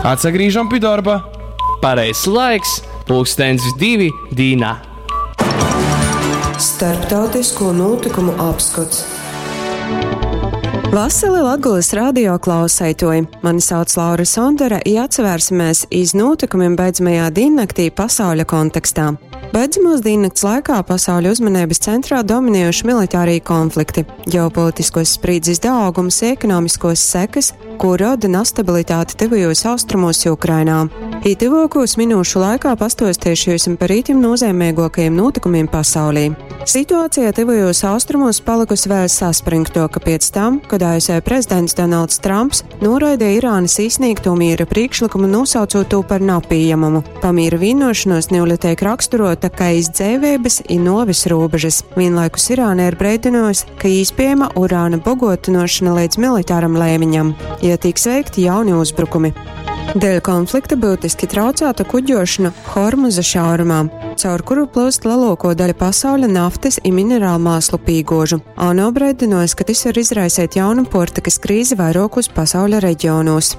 Atsagrīžam pi dorba. Pareizs laiks, pulkstens 2 dīnā. Starptautisko nūtykumu apskots. Vasali Latgolys radio klauseituoji! Mani sauc Laura Sondore i atsavērsimies iz nūtykumim beidzamajā dīnnaktī pasauļa kontekstā. Beidzamūs dīnnakts laikā pasauļa uzmaneibys centrā dominējuši militārī konflikti, ģeopolitiskuos sprīdzis daaugums i ekonomiskuos sekys, kū roda nastabilitāte Tyvajūs Austrumūs i Ukrainā. I tyvuokūs minūšu laikā pastuosteišu jiusim par itim nūzeimeiguokajim nūtykumim pasaulī. Situācija Tyvajūs Austrumūs palykusi vēļ saspryngtuoka piec tam, kod ASV prezidents Donalds Trumps nūraideja Irānys īsnīgtū mīra prīkšlykumu, nūsaucūt tū par napījemamu. Pamīra vīnuošonuos niule teik raksturuota kai iz dzeiveibys i nuovis rūbežys. Vīnlaikus Irāna ir breidynuojusi, ka īspiejama urāna boguotynuošona leidz militaram leimiņam, ja tiks veikti jauni uzbrukumi. Dēļ konflikta byutiski traucāta kuģošana Hormuza šaurumā, caur kuru plūst leluokuo daļa pasauļa naftys i mineralmāslu pīguožu. ANO braidynuojs, ka tys var izraiseit jaunu puortykys krīzi vairuokūs pasauļa reģionūs.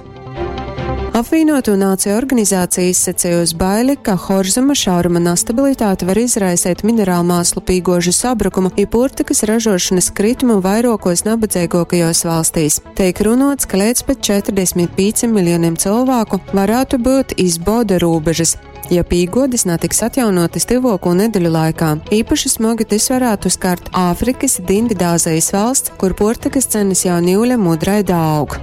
Apvīnuotū Nāciju Organizācija izsacejusi baili, ka Horzuma šauruma nastabilitāte var izraiseit mineralmāslu pīguožu sabrukumu i puortykys ražuošonys kritumu vairuokuos nabadzeiguokajuos valstīs. Teik runuots, ka leidz pat 45 miljonim cylvāku varātu byut iz boda rūbežys, ja pīguodis natiks atjaunuotys tyvuokū nedeļu laikā. Īpaši smogi tys varātu skart Āfrikys i Dīnvidāzejis valsts, kur puortykys cenys jau niule mudrai daaug.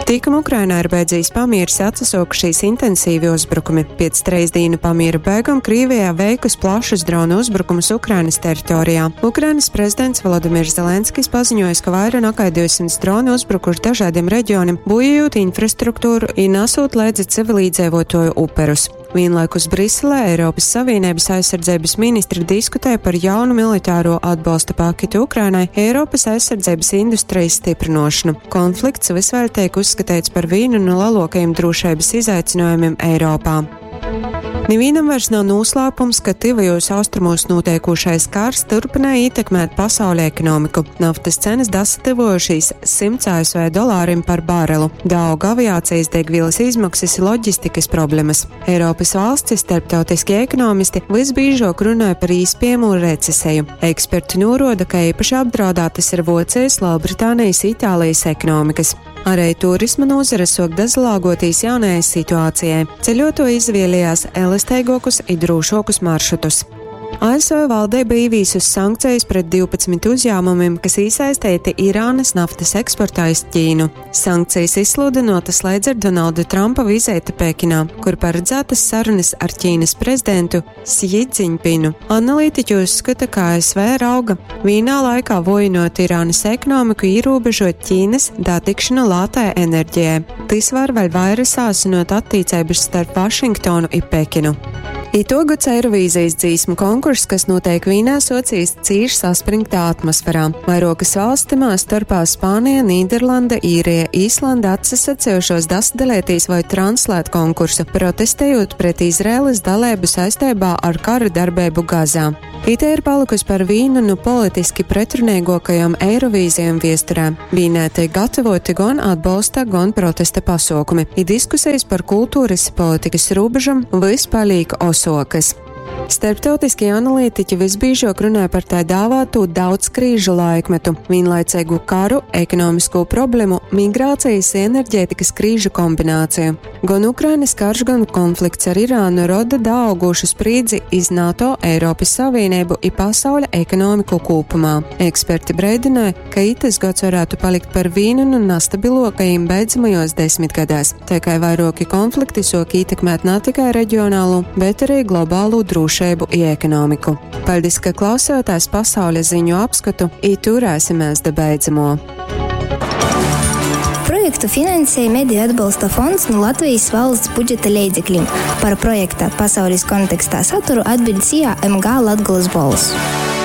Tikam Ukrainā ir beidzīs pamieris, atsasuokušīs intensīvi uzbrukumi. Piec 3 dīnu pamiera beigom Krīvijā veikus plašus dronu uzbrukumus Ukrainas teritorijā. Ukrainas prezidents Volodimirs Zelenskis paziņojis, ka vaira nakai 200 droni uzbrukuši dažādiem reģionim, bojājot infrastruktūru i nasūt leidzi civilīdzeivotuoju uperus. Vienlaikus Briselē Eiropas Savienības aizsardzības ministri diskutē par jaunu militāro atbalsta paketi Ukrainai, Eiropas aizsardzības industrijas stiprinošanu. Konflikts vys vēļ tiek uzskateits par vīnu no leluokajiem drošības izaicinājumiem Eiropā. Nivīnam vairs nav noslēpums, ka Tyvajos Austrumos notiekušais kars turpināja ietekmēt pasauļa ekonomiku. Naftas cenas dasatyvojušīs 100 ASV dolārim par barelu, daug aviācijas degvielas izmaksas i loģistikas problemas. Eiropas valstis, starptautiskie ekonomisti visbiežāk runāja par īspējamu receseju. Eksperti noroda, ka īpaši apdraudētas ir Vocijas, Lielbritānijas, Itālijas ekonomikas. Arī turisma nozare sok dazalāgotīs jaunajai situācijai. Ceļoto izvēlējās elastīgākus i drūšākus maršrutus. ASV valdība ievīsus sankcijas pret 12 uzņēmumiem, kas iesaistīti Irānas naftas eksportā iz Ķīnu. Sankcijas izsludinotas līdz ar Donalda Trumpa vizīti Pekinā, kur paredzētas sarunas ar Ķīnas prezidentu Xi Jinpingu. Analītiķi uzskata, ka ASV rauga vīnā laikā vojinot Irānas ekonomiku, ierobežot Ķīnas datikšanu lātai enerģijai. Tas var vēl vairāk sāsinot attiecības starp Vašingtonu i Pekinu. Itogads Eirovīzijas dzīsmu konkurss, kas notiek Vīnā, socijas cīši saspringtā atmosferā. Vairokas valsts timā starpā Spānija, Nīderlanda, Īrija, Īslanda atsasacējušos dasadalētīs vai translēt konkursu, protestējot pret Izraēlas dalību saistībā ar kara darbību Gazā. Ite ir palikusi par vīnu no politiski pretrunīgākajām Eirovīzijām viesturē. Vīnē tiek gatavoti gan atbalsta, gan protesta pasaukumi. I diskusijas par kultūras politikas robežam vys palīk osokas. Starptautiskie analītiķi visbiežāk runāja par tā dāvāto daudz krīžu laikmetu, vienlaicīgu karu, ekonomisko problēmu, migrācijas i enerģētikas krīžu kombināciju. Gan Ukrainas karš, gan konflikts ar Irānu roda daaugušu sprīdzi iz NATO, Eiropas Savienību i pasauļa ekonomiku kopumā. Eksperti breidināja, ka itas gads varētu palikt par vīnu no nastabilokajiem beidzamajos desmitgadēs, tā kā vairoki konflikti sok ietekmēt ne tikai reģionālu, bet arī globālu drošību i ekonomiku. Paldies, ka klausījāties pasaules ziņu apskatu, i turēsimies da beidzamo. Projektu finansēja Mediju atbalsta fonds no Latvijas valsts budžeta leidzekļiem. Par projekta pasaules kontekstā saturu atbild SIA MG Latgolas Bols.